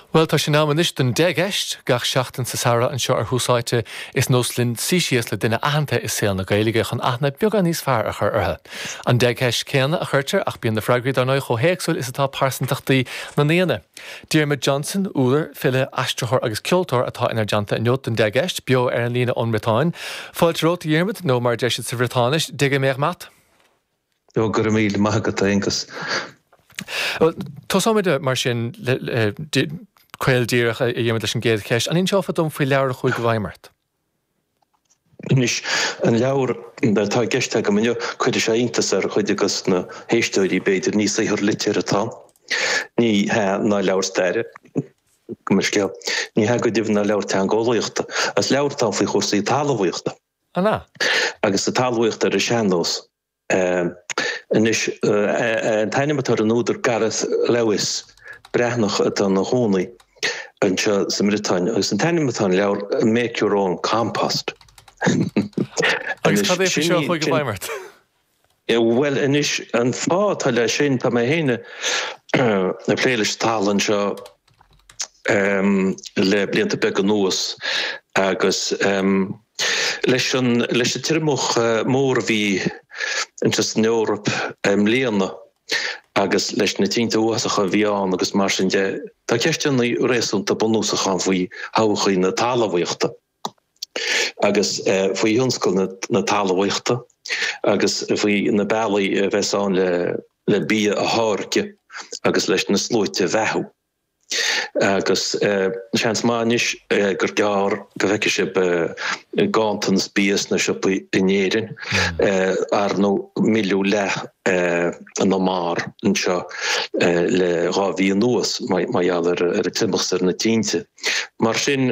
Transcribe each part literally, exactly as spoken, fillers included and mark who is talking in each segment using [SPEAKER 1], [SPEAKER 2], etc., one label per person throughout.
[SPEAKER 1] Bhuel, tá sé in am anois don deich gceist. Gach seachtain sa samhradh anseo ar Thús Áite, is nós linn suí síos le duine aitheanta i saol na Gaeilge chun aithne beagán níos fearr a chur orthu. An deich gceist céanna a chuirtear ach bíonn na freagraí dar ndóigh chomh héagsúil is atá pearsantachtaí na ndaoine. Diarmuid Johnson, údar, file, aistritheoir agus ceoltóir atá inár dteannta inniu don deich gceist, beo ar an líne ón mBriotáin. Fáilte romhat, a Dhiarmuid, nó mar a deir siad sa Bhriotáinis, Degemer mat.
[SPEAKER 2] Ó, go raibh míle maith agat, a Aonghus.
[SPEAKER 1] Tosóimid mar sin caol díreach a Dhiarmuid leis an gcéad cheist. An inseofá dom faoi leabhar a chuaigh i bhfeidhm ort?
[SPEAKER 2] Anois, an leabhar atá i gceist agam inniu, cuirfidh sé iontas ar chuid de na héisteoirí, b'fhéidir, ní saothar liteartha atá ann. Ní hea ná leabhar staire, gabh mo leithscéal. Ní hea go deimhin ná leabhar teangeolaíochta. Is leabhar atá ann faoi chúrsaí talmhaíochta.
[SPEAKER 1] An ea?
[SPEAKER 2] Agus talmhaíocht ar an sean-nós. Anois, an t-ainm atá ar an údar Gareth Lewis, Breatnach atá ina chónaí anseo sa mBriotáin, agus an t-ainm atá ar an leabhar Make Your Own Compost.
[SPEAKER 1] Agus cad é faoi seo a chuaigh i bhfeidhm ort?
[SPEAKER 2] Bhuel, anois, an fáth atá leis sin, tá mé féin ag plé leis an talamh anseo le blianta beaga anuas agus leis an leis an triomach mór a bhí anseo san Eoraip i mbliana agus leis na tinte uafásacha a bhí ann agus mar sin de, tá ceisteanna réasúnta bunúsacha ann faoi thodhchaí na talmhaíochta agus faoi thionscal na talmhaíochta agus faoi na bealaí a bheas ann le le bia a tháirgeadh agus leis na sluaite a bheathú. Agus seans maith anois gur gearr go bhfeicfidh sibh ganntanas bia sna siopaí in Éirinn. Ar ndóigh milleadh leath na mbarr anseo le dhá mhí anuas mar gheall ar an triomach is ar na tinte. Mar sin,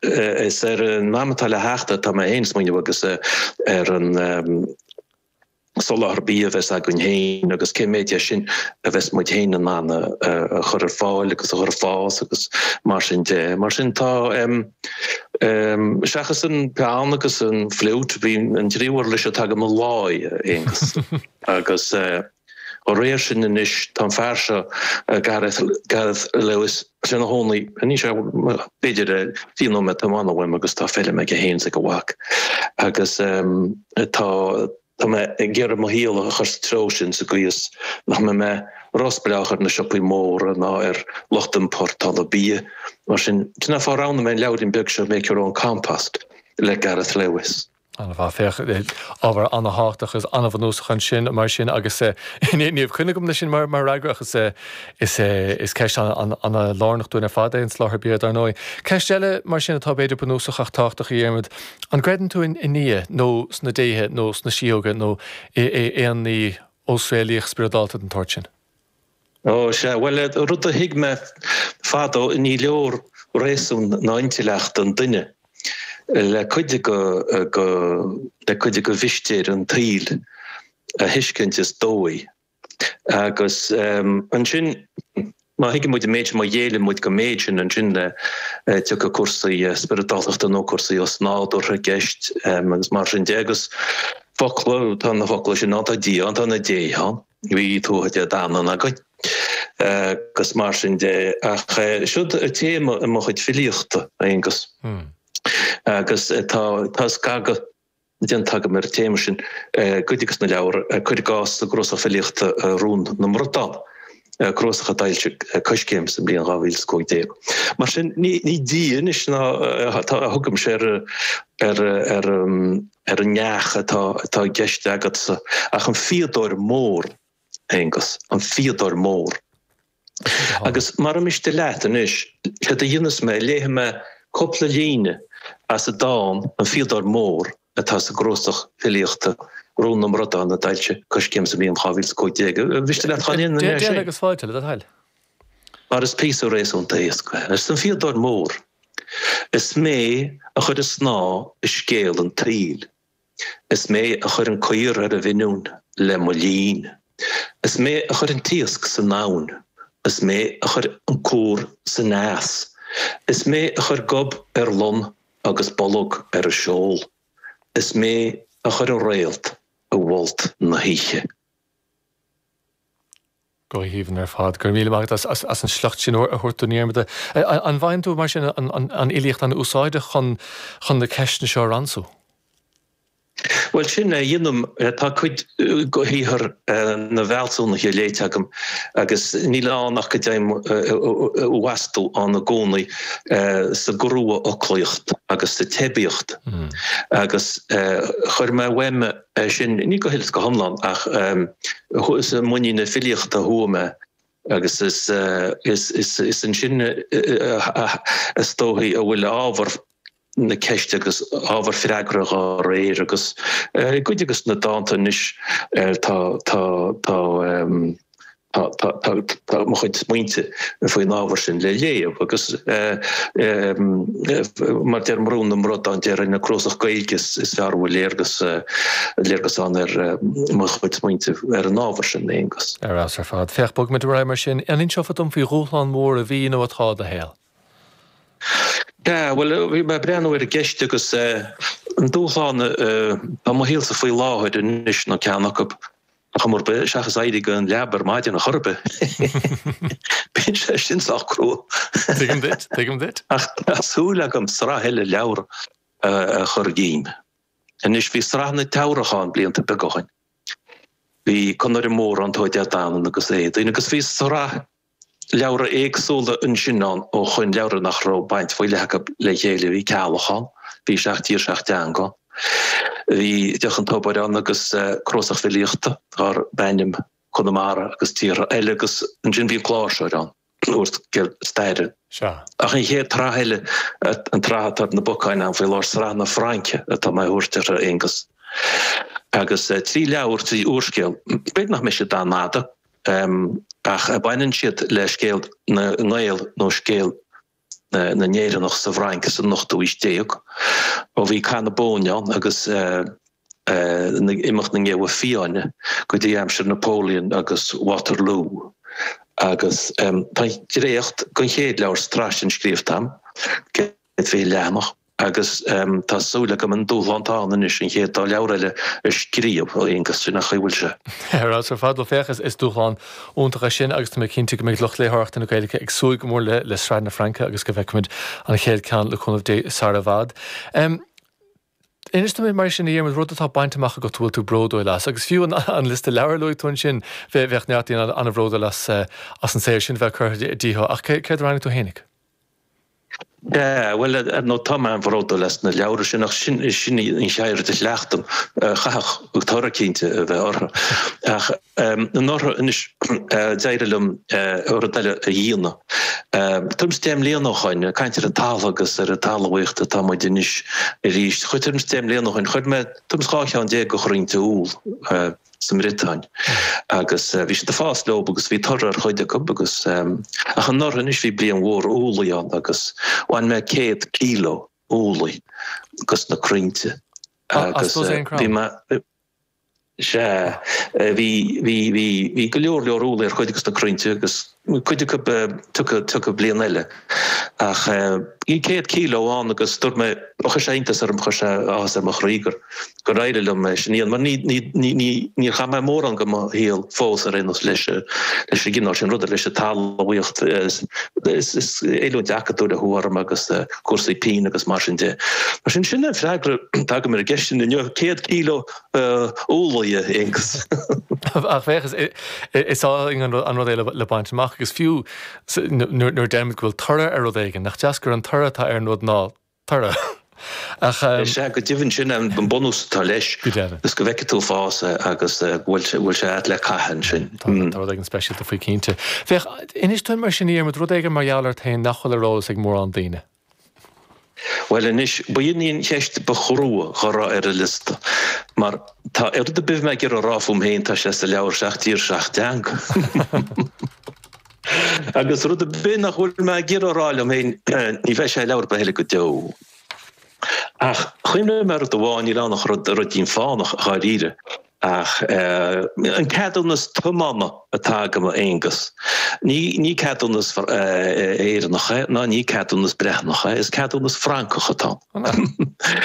[SPEAKER 2] is ar an am atá le theacht atá mé féin ag smaoineamh agus ar an soláthar bia a bheas againn féin agus cé mhéad de sin a bheas muid féin in ann a chur ar fáil agus a chur ag fás agus mar sin de. Mar sin tá, seachas an peann agus an fhliúit, bhí an tríú uirlis atá agam an láí, a Aonghus, agus dá réir sin anois tá an fear seo, Gareth, Gareth Lewis, sé ina chónaí, níl sé b'fhéidir fiche nóiméad tiomána uaim agus tá feirm aige féin is ag a mhac agus tá, Tá mé ag iarraidh mo shaol a chur sa treo sin sa gcaoi is nach mbeidh mé róspleách ar na siopaí móra ná ar lucht iompórtála bia. Mar sin, sin an fáth a roghnaigh mé an leabhairín beag seo Make Your Own Compost le Gareth Lewis.
[SPEAKER 1] An-mhaith. Féach, ábhar an-thábhachtach agus an-bhunúsach ansin mar sin agus ní raibh coinne agam leis sin mar fhreagra ach is is ceist an-lárnach dúinn ar fad é an soláthar bia dar ndóigh. Ceist eile mar sin atá b'fhéidir bunúsach ach tábhachtach a Dhiarmaid, An gcreideann tú i nDia nó sna déithe nó sna síóga nó i aon ní osréalaíoch spioradálta den tsórt sin?
[SPEAKER 2] Ó, sea. Bhuel, rud a thuig mé fadó, ní leor réasún ná intleacht an duine le cuid de le cuid de mhistéir an tsaoil a thuiscint is dóigh. Agus ansin, má thuigeann muid an méid sin, má ghéilleann muid don méid sin, ansin tiocfaidh cúrsaí spioradáltachta nó cúrsaí osnádúrtha i gceist agus mar sin de. Agus focla, tá na focla sin ann, tá Dia ann, tá na déithe ann, bhí Tuatha Dé Danann againn agus mar sin de. Ach siod téama i mo chuid filíochta, a Aonghus, agus tá tá scagadh déanta agam ar an téama sin i gcuid de na leabhair, cuir i gcás sa gcnuasach filíochta Rún na mBradán, cnuasach a d'fhoilsigh Coiscéim sa mbliain dhá mhíle is cúig déag. Mar sin, ní Dia anois ná a thugaimse ar ar ar ar an neach atá atá i gceist agatsa ach an fíodóir mór, Aonghus, an fíodóir mór. Agus mara miste leat anois, séard a dhéanfas mé, léifidh mé cúpla líne as an dán An Fíodóir Mór atá sa gcnuasach filíochta Rún na mBradán a d'fhoilsigh Coiscéim sa mbliain dhá mhíle is cúig déag. An miste leat dhá ndéanfainn é
[SPEAKER 1] sin? Déan agus fáilte, le do thoil.
[SPEAKER 2] Mar is píosa réasúnta éasca é. Arsa an Fíodóir Mór, Is mé a chuir an snáth i scéal an tsaoil. Is mé a chuir an caor ar an bhfiniúin le mo linn. Is mé a chuir an t-iasc san abhainn. Is mé a chuir an cúr san eas. Is mé a chuir gob ar lon agus bolg ar an seol. Is mé a chuir an réalt i bhfolt na hoíche.
[SPEAKER 1] Go haoibhinn ar fad. Go raibh míle maith agat as as an sliocht sin a thabhairt dúinn, a Dhiarmada. An bhfaigheann tú mar sin an an fhilíocht an-úsáideach chun chun na ceisteanna seo a ransú?
[SPEAKER 2] Bhuel sin é a dhéanaim. Tá cuid de shaothar na bhfealsúnaithe léite agam agus níl ann ach go dtéim i bhfastú ann i gcónaí sa gcrua-fhoclaíocht agus sa teibíocht. Agus chuir mé uaim é sin, ní go huile is go hiomlán ach is i muinín na filíochta a chuaigh mé agus is ansin is dóichí a bhfuil ábhar na ceiste agus ábhar freagra dá réir agus i gcuid de na dánta anois tá tá tá tá tá tá mo chuid smaointe faoin ábhar sin le léamh agus mar deir Brún na mBradán déarfainn an cnuasach Gaeilge is fearr a bhfuil léargas léargas ann ar mo chuid smaointe ar an ábhar sin, Aonghus.
[SPEAKER 1] Ar fheabhas ar fad. Féach, bogfaimid ar aghaidh mar sin. An inseofá dom faoi dhúshlán mór a bhí nó atá i do shaol?
[SPEAKER 2] Sea, bhuel, bhí mé ag breathnú ar an gceist agus an dúshlán atá i mo shaolsa faoi láthair anois nó ceann acu, chuma ar bith, seachas éirí den leaba ar maidin ar chor ar bith. Bíonn sé sin sách crua.
[SPEAKER 1] Tuigim duit, tuigim duit.
[SPEAKER 2] Ach tá súil agam sraith eile leabhar a chur díom. Anois, bhí sraith na Teamhrach ann blianta beaga ó shin. Bhí Conaire Mór ann, Tuatha Dé Danann agus Éadaoin agus bhí sraith leabhra éagsúla ansin ann ó shoin, leabhra nach raibh baint faoi leith acu le chéile. Bhí Ceallach ann, bhí Seacht dTír Seacht dTeanga ann, bhí Deoch an Tobair ann agus cnuasach filíochta darb ainm Conamara agus Tíortha Eile agus ansin bhí an Cláirseoir ann, úrscéal staire.
[SPEAKER 1] Sea.
[SPEAKER 2] Ach an chéad tsraith eile, an tsraith atá ar na bacáin agam faoi láthair, Sraith na Fraince atá mé a thabhairt uirthi, a Aonghus. Agus trí leabhar, trí úrscéal, b'fhéidir nach mbeidh siad an-fhada, Ach baineann siad le scéal na nGael nó scéal na nÉireannach sa bhFrainc san ochtú aois déag, ó bhí Cath na Bóinne ann agus imeacht na nGeabha Fiáine go dtí aimsir Napoleon agus Waterloo. Agus tá an dréacht den chéad leabhar sa tsraith sin scríofa agam, céad fiche leathanach. Agus tá súil agam an dúshlán atá ann anois an chéad dá leabhar eile a scríobh, a Aonghus, sin an chaoi a bhfuil sé.
[SPEAKER 1] Ar fheabhas ar fad, bhuel féach, is dúshlán iontach é sin agus tá mé cinnte go mbeidh lucht léitheoireachta na Gaeilge ag súil go mór le le Sraith na Fraince agus go bhfeicfimid an chéad ceann le cúnamh Dé sara i bhfad. Inis dom mar sin a Dhiarmuid, rud atá bainte amach agat a bhfuil tú bródúil as, agus fiú an liosta leabhar a luaigh tú ansin, bheadh neart daoine an-bhródúil as as an saothar sin a bheith curtha díothu, ach céard a roghnaigh tú fhéinig?
[SPEAKER 2] Sea, bhuel, ar ndóigh, tá mé an-bhródúil as na leabhra sin, ach sin, sin í an cheird a chleachtaim. Chaithfeadh toradh cinnte a bheith orthu. Ach anuraidh, anois, d'éirigh liom rud eile a dhéanamh. Tuairim is deich mbliana ó shoin, ag caint ar an talamh agus ar an talmhaíocht atá muid anois arís. Tuairim is deich mbliana ó shoin, chuir mé tuairim is dhá cheann déag de chrainnte úll. sa mBriotáin agus bhí siad ag fás leo agus bhí toradh ar chuid acu agus ach anuraidh anois bhí bliain mhór úllaí ann agus bhain mé céad kíló úllaí dos na crainnte agus bhí mé sea bhí bhí bhí bhí go leor leor úllaí ar chuid dos na crainnte agus cuid acu tiocfaidh tiocfaidh bliain eile ach bhí céad kíló ann agus dúirt mé chuir sé iontas orm chuir sé áthas ar mo chroí gur gur éirigh liom é sin a dhéanamh mar ní ní ní ní níor chaith mé mórán de mo shaol fós ar aon nós leis leis an gcineál sin ruda leis an talmhaíocht is is is oiliúint acadúil a chuaigh orm agus cúrsaí pinn agus mar sin de. Mar sin sin an freagra atá agam ar an gceist sin inniu céad kíló úllaí a Aonghus.
[SPEAKER 1] Ach féach, is álainn an rud é le baint amach agus fiú nuair a deirimid go bhfuil toradh ar rud éigin, nach deas gur an toradh atá ar an rud ná toradh.
[SPEAKER 2] Ach. Is ea, go deimhin, sin an bunús atá leis.
[SPEAKER 1] Go deimhin.
[SPEAKER 2] Is go bhfeicfidh tú fás é agus go bhfuil sé agat le caitheamh ansin.
[SPEAKER 1] Tá rud éigin speisialta faoi cinnte. Féach, inis dúinn mar sin a Dhiarmuid, rud éigin mar gheall ort féin nach bhfuil ar eolas ag mórán daoine.
[SPEAKER 2] Bhuel anois, ba in í an cheist ba chrua dhá raibh ar an liosta, mar tá rud ar bith a bheidh mé ag iarraidh a rá fúm féin, tá sé sa leabhar Seacht dTír Seacht dTeanga. Agus rud ar bith nach bhfuil mé ag iarraidh a rá liom féin, ní bheidh sé i leabhar ar bith eile go deo. Ach chuimhnigh mé ar rud amháin, níl ann ach rud, ruidín fánach, dháiríre. Ach an ceadúnas tiomána atá agam, a Aonghus, ní ní ceadúnas Éireannach é ná ní ceadúnas Breatnach é, is ceadúnas Francach atá.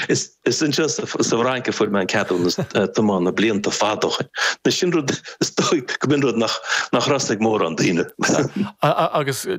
[SPEAKER 2] Is is anseo sa Fhrainc a fuair mé an ceadúnas tiomána blianta fada ó shin. Sin rud is dóigh go mb'in rud nach nach raibh ag mórán daoine.
[SPEAKER 1] Agus